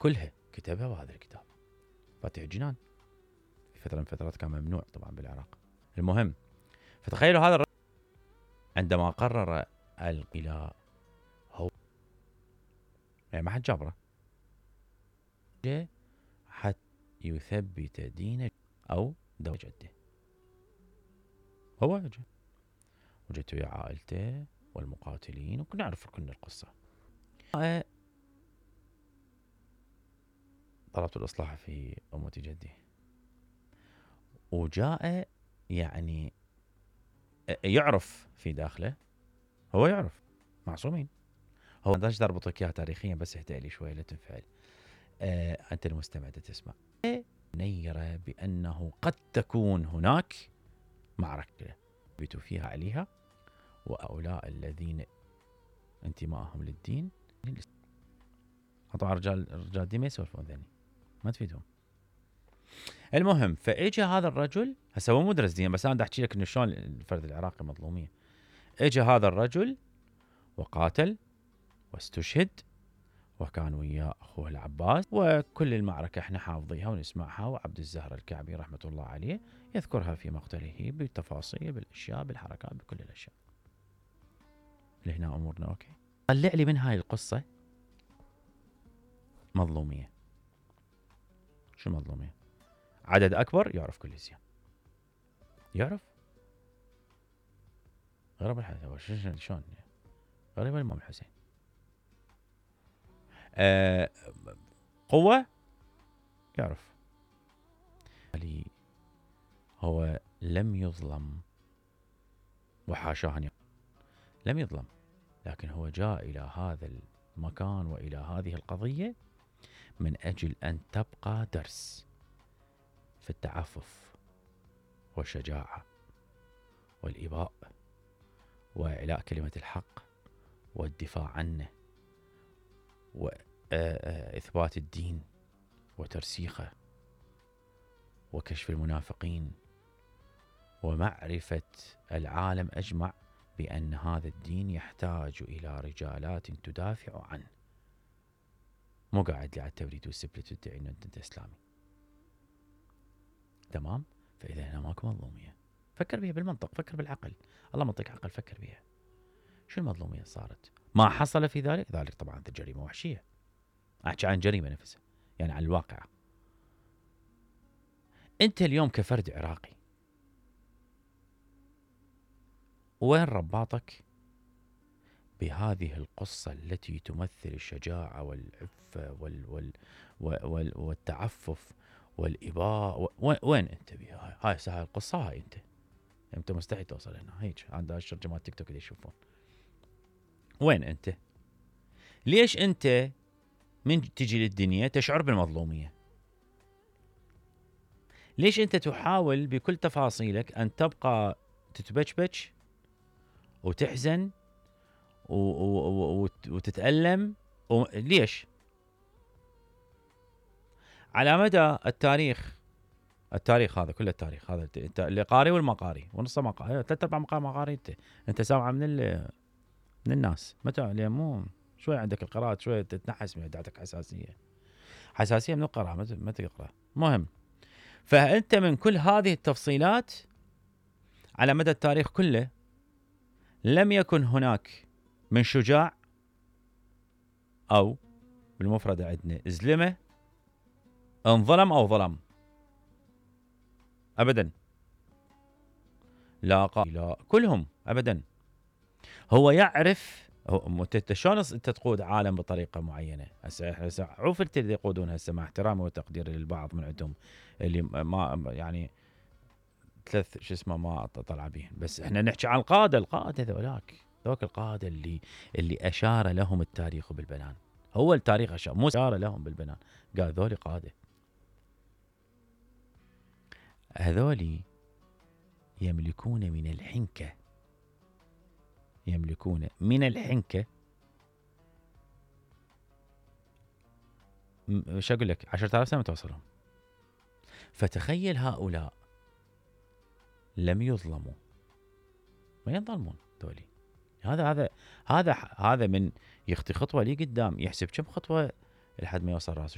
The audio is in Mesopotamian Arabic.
كلها كتبها بهذا الكتاب. فاتح الجنان في فترة من فترات كان ممنوع طبعا بالعراق. المهم، فتخيلوا هذا الرجل عندما قرر الإله هو يعني ما حد جابره حتى يثبت دين أو دولة جده. هو وجدت ويا عائلته والمقاتلين وكنا نعرف كل القصة. طلبت الإصلاح في أمة جدي، وجاء يعني يعرف في داخله، هو يعرف معصومين. هو ما اربطك اياها تاريخيا، بس اهدأ لي شوي لا تنفعل. انت المستمع تسمع نيرة بانه قد تكون هناك معركة بيتوا فيها عليها، وهؤلاء الذين انتمائهم للدين طبعا رجال الدين ما يسولفون ذني، ما تفيدهم. المهم، فاجى هذا الرجل، هسه هو مو درس دين، بس انا احكي لك انه شلون الفرد العراقي مظلوميه. اجى هذا الرجل وقاتل واستشهد، وكان وياه اخوه العباس، وكل المعركه احنا حافظيها ونسمعها، وعبد الزهر الكعبي رحمه الله عليه يذكرها في مقتله بالتفاصيل، بالاشياء، بالحركات، بكل الاشياء. لهنا امورنا اوكي. طلع لي من هاي القصه مظلوميه. شو مظلوميه؟ عدد اكبر يعرف كل شيء، يعرف غرب الحسين. شلون غريب الامام الحسين. قوه يعرف. هو لم يظلم، وحاشاه ان لم يظلم، لكن هو جاء الى هذا المكان والى هذه القضيه من اجل ان تبقى درس في التعفف والشجاعه والاباء واعلاء كلمه الحق والدفاع عنه واثبات الدين وترسيخه وكشف المنافقين ومعرفه العالم اجمع بان هذا الدين يحتاج الى رجالات تدافع عنه. مو قاعد لي على التبريد والسبلت وتدعي ان انت اسلامي. تمام؟ فاذا هنا ماكو مظلوميه. فكر بها بالمنطق، فكر بالعقل، الله منطق عقل، فكر بها. شو المظلوميه صارت؟ ما حصل في ذلك طبعا جريمه وحشيه. احكي عن جريمه نفسها، يعني عن الواقع. انت اليوم كفرد عراقي وين رباطك بهذه القصة التي تمثل الشجاعة والعفة والتعفف والإباء؟ وين أنت بها؟ هاي القصة، هاي أنت مستحيل توصل هنا. هيك عند هالشر جماعة تيك توك اللي يشوفون. وين أنت؟ ليش أنت من تجي للدنيا تشعر بالمظلومية؟ ليش أنت تحاول بكل تفاصيلك أن تبقى تتبجبج وتحزن وتتألم؟ ليش؟ على مدى التاريخ هذا كله، التاريخ هذا اللي قاري والما قاري ونص ما قاري، 3/4 ما قاري، انت سامعه من الناس. متى مو شوي عندك القراءة شوي تتنحس، من عندك حساسية من القراءة، ما تقرأ. مهم، فأنت من كل هذه التفصيلات على مدى التاريخ كله لم يكن هناك من شجاع أو بالمفرد عندنا زلمة انظلم أو ظلم أبدا. لا كلهم أبدا. هو يعرف شلون انت تقود عالم بطريقه معينه. هسه عوف اللي يقودون هسه، مع احترامي وتقديري للبعض من عندهم اللي ما يعني ثلاث ما طلع بهم، بس احنا نحكي عن القاده ذوك القاده اللي اشار لهم التاريخ بالبنان. هو التاريخ اشار، مو اشار لهم بالبنان، قال ذولي قاده. هذولي يملكون من الحنكه ايش اقول لك 10,000 سنه توصلهم. فتخيل هؤلاء لم يظلموا، ما ينظلمون ذولي. هذا من يخطي خطوه لي قدام يحسب كم خطوه لحد ما يوصل راسه.